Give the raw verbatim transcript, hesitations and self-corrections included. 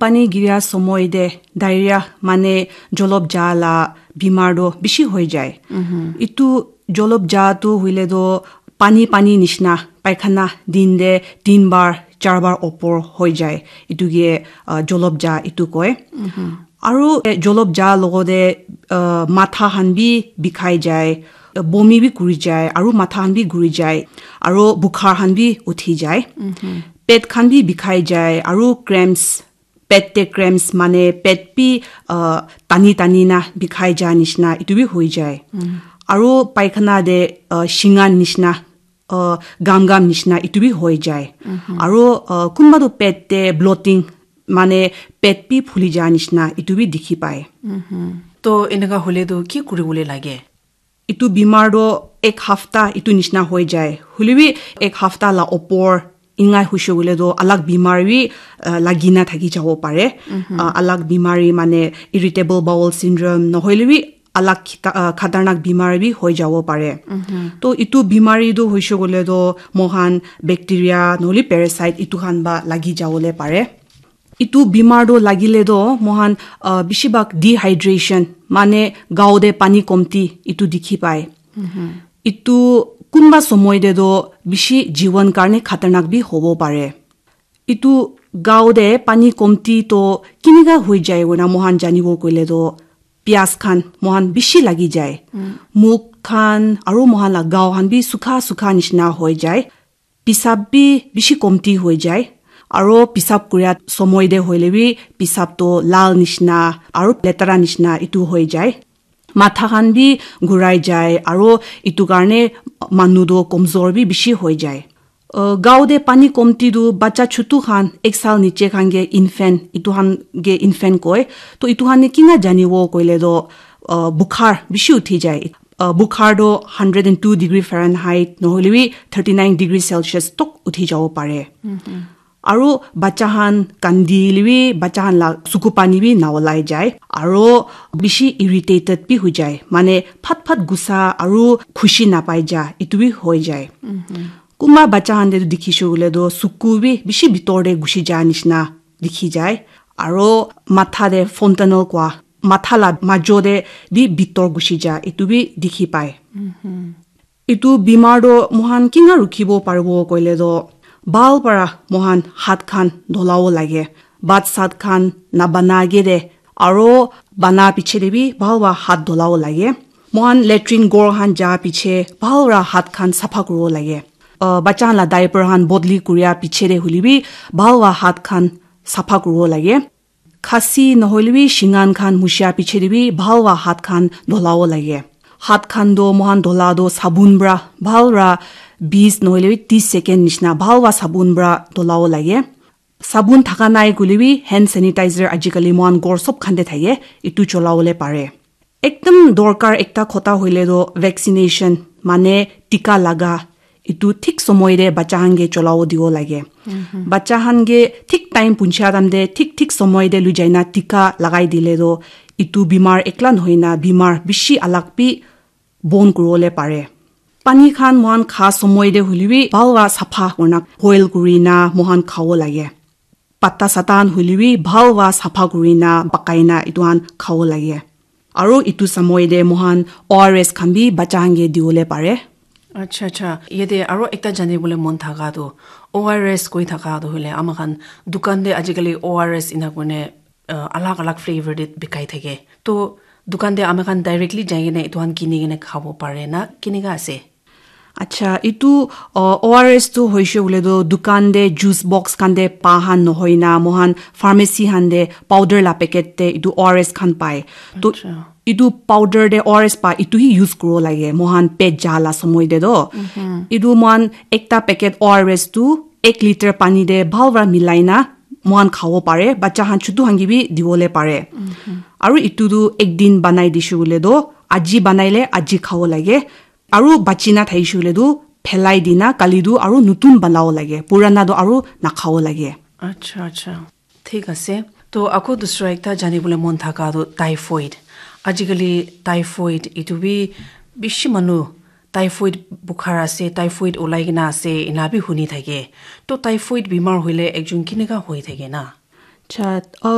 Pani giria somoi te diarrhea mane jolop ja la bimar do bishi hoi jai. Itu jolop ja tu huile do pani pani nishna paikhana din te tin bar, char bar opor hoi jai. Itu ke, ah, jolop ja itu koi. Aru, eh, jolop ja logote, ah, matha khan bi bikhai jai, bomi bi kuri jai, aru matha khan bi guri jai, aru bukhar khan bi uthi jai. Pet khan bi bikhai jai, aru cramps, pet te cramps mane pet bi, ah, tani tani na bikhai ja nishna itu bi hoi jai. Aru paikhana te, ah, shinga nishna, ah, gam gam nishna itu bi hoi jai. Aru, ah, kunba tu pet te bloating mane pet bi phuli ja nishna itu bi dikhi pai. To eneka hole tu ki kuribole lage? Itu bimar do ek hafta itu nishna hoi jai. Hulebi ek hafta la opor ingai hushe hule do alag bimar bi, ah, lagi na thaki jabo pare. Ah, alag bimari mane irritable bowel syndrome nohoile bi alag khita-, ah, khatarnak bimar bi hoi jabo pare. To itu bimari do hushe hule do mohan bacteria nohole parasite itu khan ba lagi jabole pare. Itu bimar do lagile do mohan, ah, bishibak dehydration mane gao de pani komti itu dikhi pai. Itu kunba somoi de do bishi jiwan karne khatarnak bi hobo pare. Itu gao de pani komti to kinika hoi jai koina mohan janibo koile do pias khan mohan bishi lagi jai. Muk khan aru mohan la gao khan bi sukha sukha nishna hoi jai. Pisap bi bishi komti hoi jai. Aro pisap kuria somoi de hoile bi pisap to lal nishna aro letara nishna itu hoi jai. Matha khan bi gurai jai aro itu karne manu do komzor bi bishi hoi jai. Uh, gao de pani komti tu bacha chutu khan ek sal niche khan ke infant itu khan ke infant koi. To itu khan ne kinga janibo koile do, uh, bukhar bishi uthi jai. Uh, bukhar do hundred and two degree Fahrenheit nohole bi thirty nine degree Celsius tok uthi jabo pare. Aro bacha khan kandile bi bacha khan la suku pani bi na olai jai. Aro bishi irritated bi hoi jai. Mane phat phat gusa aro khushi na pai ja itu bi hoi jai. Kunba bacha khan de dikhi shu le do suku bi bishi bitor de gushi ja nishna dikhi jai. Aro matha de fontanel kwa matha la majo de bi bitor gushi ja itu bi dikhi pai. Itu bimar do mohan kinga rukhibo paribo koile do bhal para mohan hat khan dholabo lage. Bhat sat khan na bana age de aro bana piche de bi bhal para hat dholabo lage. Mohan latrine ghor khan ja piche bhal para hat khan sapha kuribo lage. Uh, bacha khan la diaper khan bodli kuria piche de huli bi bhal para hat khan sapha kuribo lage. Khasi nohoile bi shingan khan mushia piche de bi bhal para hat khan dholabo lage. Hat khan do mohan dhola do sabun para bhal para bis nohoile bi tis second nishna bhal para sabun para dholabo lage. Sabun thaka nai koile bi hand sanitizer ajikali mohan ghor sob khan de thake itu cholabole pare. Ekdam dorkar ekta khota hoile do vaccination mane tika laga itu thik somoi de bacha khan ke cholabo dibo lage. Bacha khan ke thik time puncha time de thik thik somoi de lui jaina tika lagai dile do itu bimar ekla nohoina bimar bishi alag bi bon kuribole pare. Pani khan mohan kha somoi de huli bi bhal para sapha kurina boil kurina mohan khabo lage. Patta satan huli bi bhal para sapha kurina pakai na itu khan khabo lage. Aro itu somoi de mohan O R S khan bi bacha khan ke dibole pare. Acha acha, yate aro ekta jani bole mon thaka tu O R S koi thaka tu hule ama khan dukan de ajikali O R S ina kone, uh, alag alag flavor de bikai thake. To dukan de ama khan directly jai kene itu khan kini kene khabo pare na kinika ase? Acha, itu, uh, O R S tu hoishe bole tu dukan de juice box khan de pa khan nohoi na mohan pharmacy khan de powder la packet de itu O R S khan pai. To itu powder de O R S pa itu hi use kuribo lage mohan pet ja la somoi de do. Itu mohan ekta packet O R S tu ek liter pani de bhal para milai na mohan khabo pare. Bacha khan chutu khan ke bi dibole pare. Aro itu tu ek din banai dishe bole do aji banaile aji khabo lage. Aru bachi na thaishe hoile tu phelai dina kali tu aru nutun banabo lage, purana tu aru nakhabo lage. Acha acha, thik ase. To ako dusra ekta jani bole mon thaka tu typhoid. Ajikali typhoid itu bi bishi manu typhoid bukhar ase, typhoid ulai kena ase ina bi huni thake. To typhoid bimar hoile ekjon kinika hoi thake na? Chat